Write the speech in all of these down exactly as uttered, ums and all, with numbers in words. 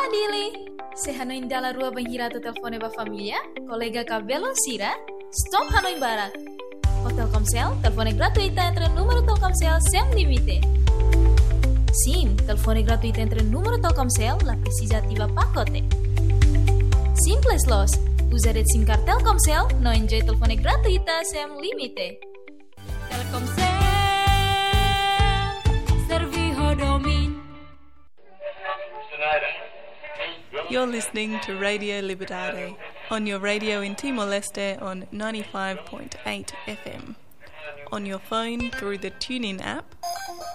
Dili, se hanoin dala rua bainhira atu telefone ba família, kolega ka belun sira, stop hanoin barak. Ho Telkomsel, telefone gratuita entre númeru Telkomsel sem limite. Sim, telefone gratuita entre númeru Telkomsel, la presiza ativa pakote. Simples loos, uza de'it SIM card Telkomsel, no enjoy telefone gratuita sem limite. Telkomsel, servi ho domin. You're listening to Radio Liberdade on your radio in Timor-Leste on ninety-five point eight F M, on your phone through the TuneIn app,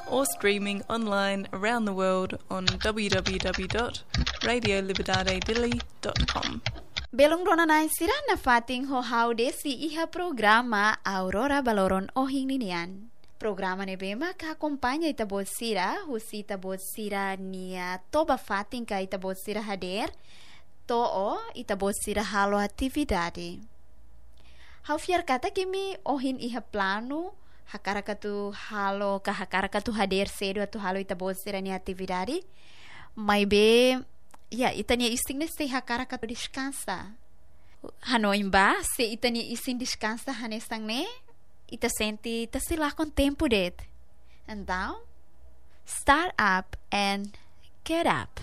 or streaming online around the world on w w w dot radio liberdade dili dot com. Belun rona-na'in sira, nafatin ho ha'u Desi iha programa Aurora ba loron ohin ninian. Programa ne'ebé mak akompaña ita-boot sira, husi ita-boot sira-nia toba-fatin ka ita-boot sira hadeer, to'o ita-boot sira halo atividade. Ha'u fiar katak imi ohin iha planu, hakarak atu halo ka hakarak atu hadeer sedu atu halo ita-boot sira-nia atividade. Maibé, ya, ita-nia isin ne'e sei hakarak atu deskansa. Hanoin ba, se ita-nia isin deskansa hanesan ne'e, ita sente ita sei lakon tempu de'it. Entaun, start up and get up.